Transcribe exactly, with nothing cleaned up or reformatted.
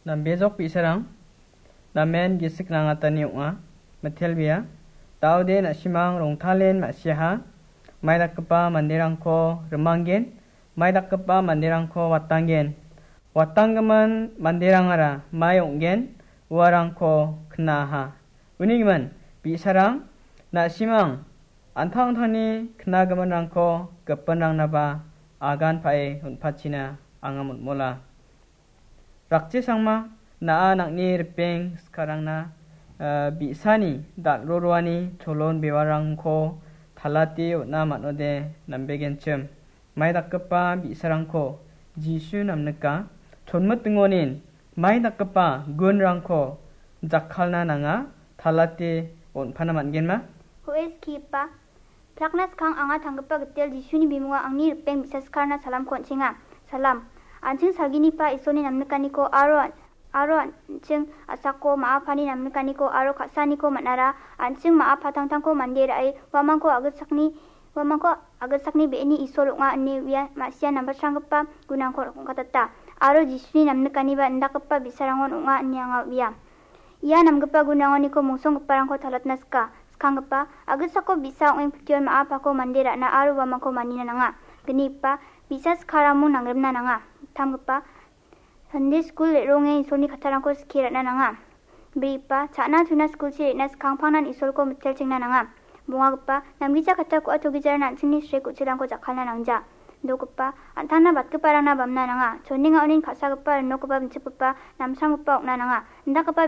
Nambejok bi·sarang, namen gisik nangatani ong·a, mitelbea. Daode na·simang rongtalen ma·siaha, mai dakgipa manderangko rimanggen, mai dakgipa manderangko watanggen. Watanggimin manderangara mai ong·gen, uarangko knaaha. Uni gimin, bi·sarang, na·simang, an·tangtangni knagiminrangko gipinrangnaba agan pa·e on·pachina anga motmola. Rakchesangma, na·a nang·ni ripeng sikarangna, eh, bi·sani dal·roroani cholon bewarangko talate on·a man·ode nambegenchim. Mai dakgipa bi·sarangko Jisu namnika, chonmitingonin mai dakgipa gunrangko jakkalna nanga, talate on·pana man·genma? Ho·e skipa, Pilakna skang anga tanggipa gitel Jisuni bimungo angni ripeng bi·sa sikarna salamko on·chenga. Salam. An·ching salginipa Isolni namnikaniko aro, aro an·ching a·sako ma·a pani namnikaniko aro ka·saaniko man·ara, an·ching ma·a patangtangko mande ra·e, uamangko agitsakni, uamangko agitsakni be·eni Isol ong·a ine uia ma·sia nambatranggipa gunangko rongkatata. Aro Jisuni namnikaniba indakgipa bi·sarangon ong·a ine anga uia. Ia namgipa gunangoniko mongsonggiparangko talatna sika. Skanggipa, agitsako bi·sa ong·e pition ma·a pako mande ra·na aro uamangko manina nanga. Gnigipa, bi·sa sikaramon nangremna nanga. Tamgipa, Sunday skul re·ronge Isolni kattarangko skie ra·na nanga. Brigipa, cha·na chuna skulchi re·na skangpangnan Isolko mitelchengna nanga. Bongagipa, namgija katta ku·a togijaran an·chingni srek ku·chirangko jakkalna nangja. Dokgipa, an·tangna batgiparangna bamna nanga. Chonenga onin ka·sagipa, rinokgipa, binchipgipa, namsramgipa ong·na nanga. Indakgipa